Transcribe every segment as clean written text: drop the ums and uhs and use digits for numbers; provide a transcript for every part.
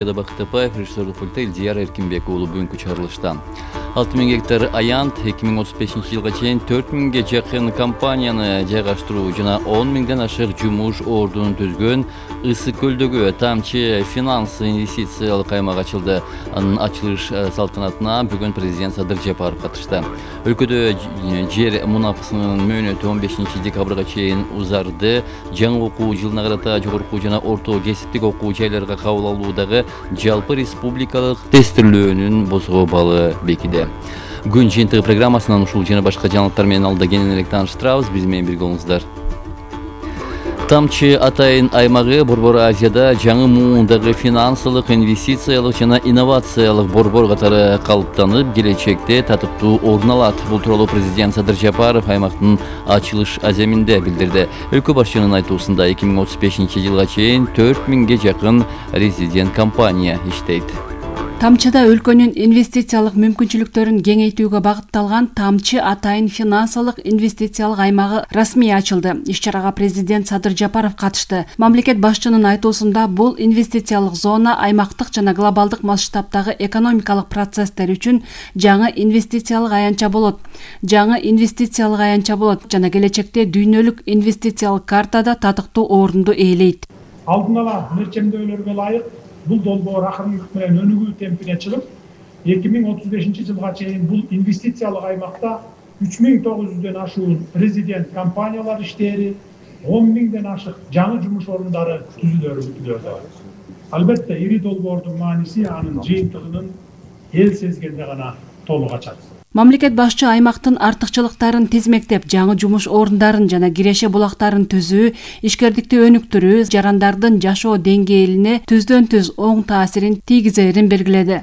Бактыпаев, режиссерлук пульта Илдияр Эркинбек уулу бүгүнкү чыгарылышта 6000 гектар аянт 2035 жылга чейин 4000ге жакын компанияны жайгаштыруу жана 10 000ден ашык жумуш ордунун түзгөн Ысык көлдөгү Тамчы финанс инвестициялык аймак ачылды. Анын ачылыш салтанатына бүгүн президент Садыр Жапаров катышты. Өлкөдө жер мунафасынын мөөнөтү 15 декабрга чейин узарды. Жаңы окуу жылына карата жогорку жана орто кесиптик окуу жайларга кабыл алуудагы жалпы республикалык тестирлөөнүн бозго балы бекиди. Күн жыйынтыгы программасынан ушул жана башка жаңылыктар менен алда кененирээк тааныштырабыз. Биз менен бирге болуңуздар. Тамчы атайын аймагы Борбор Азияда жаңы муундагы финансылык, инвестициялык жана инновациялык борбор катары калыптанып, келечекте татыктуу орун алат. Бул тууралуу президент Садыр Жапаров аймактын ачылыш аземинде билдирди. Өлкө башчынын айтуусунда 2035 жылга чейин 4000ге жакын резидент компания иштейт. Тамчыда өлкөнүн инвестициялык мүмкүнчүлүктөрүн кеңейтүүгө багытталган Тамчы атайын финансылык инвестициялык аймагы расмий ачылды. Иш-чарага президент Садыр Жапаров катышты. Мамлекет башчынын айтуусунда бул инвестициялык зона аймактык жана глобалдык масштабтагы экономикалык процесстер үчүн жаңы инвестициялык аянтча болот. Жана келечекте дүйнөлүк инвестициялык картада татыктуу орунду ээлейт. Алдын ала мерчемдөөлөргө ылайык бул долбоор акырындык менен өнүгүү темпине чыгып, 2035 жылга чейин бул инвестициялык аймакта 3900дөн ашуун резидент компаниялар иштери, 10 000ден ашык жаңы жумуш орундары түзүлөрү күтүлөт. Албетте ири долбоордун мааниси анын жыйынтыгынын эл сезгенде гана толук ачат. Мамлекет башчы аймактын артыкчылыктарын тизмектеп, жаңы жумуш орундарын жана киреше булактарын түзүү, ишкердикти өнүктүрүү, жарандардын жашоо деңгээлине түздөн-түз оң таасирин тийгизерин белгиледи.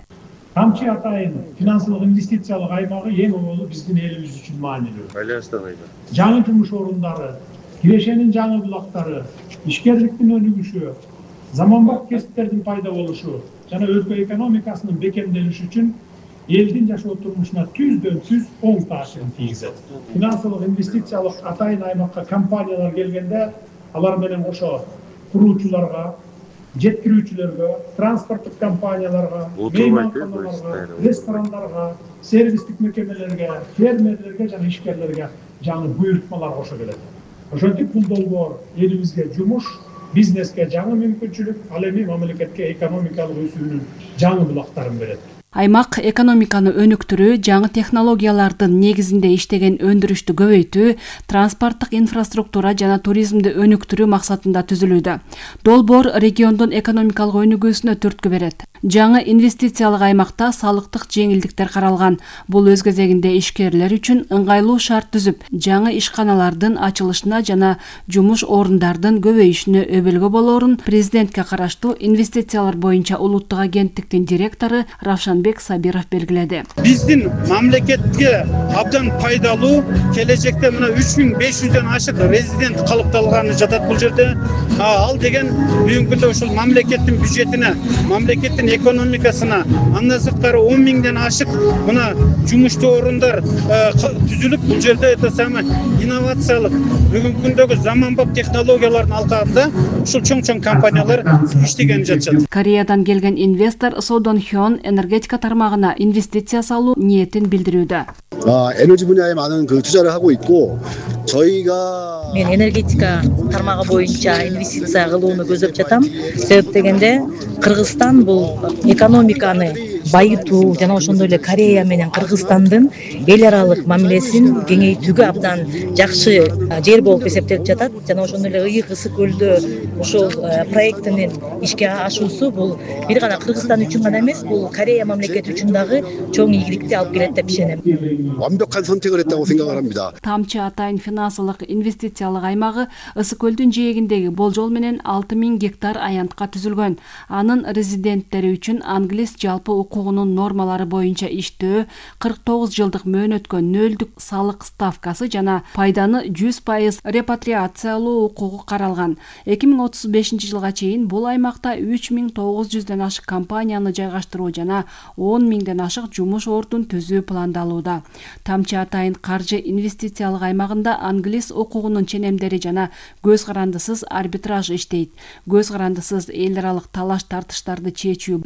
Тамчы атайын финансылык инвестициялык аймагы эң олуу биздин элибиз үчүн маанилүү. Жаңы жумуш орундары, кирешенин жаңы булактары, ишкерликтин өнүгүшү, заманбап кесиптердин пайда болушу жана өлкө экономикасынын бекемделиши үчүн элдин жашоо турмушуна түздөн-түз оң таасирин тийгизет. Финансылык инвестициялык атайын аймакка компаниялар келгенде, алар менен кошо куруучуларга, жеткирүүчүлөргө, транспорттук компанияларга, мейманканаларга, ресторандарга, сервистик мекемелерге, фермерлерге жана ишкерлерге жаңы буйрутмалар кошо келет. Ошентип бул долбоор элибизге жумуш, бизнеске жаңы мүмкүнчүлүк, ал эми мамлекетке экономикалык өсүүнүн жаңы булактарын берет. Аймак экономиканы өнүктүрүү, жаңы технологиялардын негизинде иштеген өндүрүштү көбөйтүү, транспорттук инфраструктура жана туризмди өнүктүрүү максатында түзүлүүдө. Долбоор региондун экономикалык өнүгүүсүнө түрткү берет. Жаңы инвестициялык аймакта салыктык жеңилдиктер каралган. Бул өз кезегинде ишкерлер үчүн ыңгайлуу шарт түзүп, жаңы ишканалардын ачылышына жана жумуш орундардын көбөйүшүнө өбөлгө болоорун президентке караштуу инвестициялар боюнча улуттук агенттиктин директору Равшанбек Сабиров белгиледи. Биздин мамлекетке абдан пайдалуу, келечекте мына 3500дөн ашык резидент калыпталганы жатат бул жерде. Ал деген бүгүнкү күндө ушул мамлекеттин бюджетине, мамлекеттин экономикасына, андан сырткары 10 000ден ашык мына жумуштуу орундар түзүлүп, бул жерде инновациялык бүгүнкү күндөгү заманбап технологиялардын алкагында ушул чоң компаниялар иштеген жатышат. Кореядан келген инвестор Содон Хён энергетика тармагына инвестиция салуу ниетин билдирүүдө. 에너지 분야에 많은 투자를 하고 있고 저희가 мен энергетика тармагы боюнча инвестиция кылууну көздөп жатам. Себеп дегенде Кыргызстан бул экономиканы байытуу жана ошондой эле Корея менен Кыргызстандын эл аралык мамилесин кеңейтүүгө абдан жакшы жер болуп эсептелип жатат. Жана ошондой эле Ыйык Ысык көлдө ошол проектинин ишке ашуусу бул бир гана Кыргызстан үчүн гана эмес, бул Корея мамлекети үчүн дагы чоң ийгиликти алып келет деп ишенем. 완벽한 선택을 했다고 생각을 합니다. Тамчы атайын финансылык инвестициялык аймагы Ысык көлдүн жээгиндеги болжол менен 6000 гектар аянтка түзүлгөн. Анын резиденттери үчүн англис жалпы окуу укугунун нормалары боюнча иштөө, 49 жылдык мөөнөткө нөлдүк салык ставкасы жана пайданы 100% репатриациялоо укугу каралган. 2035 жылга чейин бул аймакта 3900ден ашык компанияны жайгаштыруу жана 10 миңден ашык жумуш ордун түзүү пландалууда. Тамчы атайын каржы инвестициялык аймагында англис укугунун ченемдери жана көз карандысыз арбитраж иштейт. Көз карандысыз эл аралык талаш тартыштарды чечүү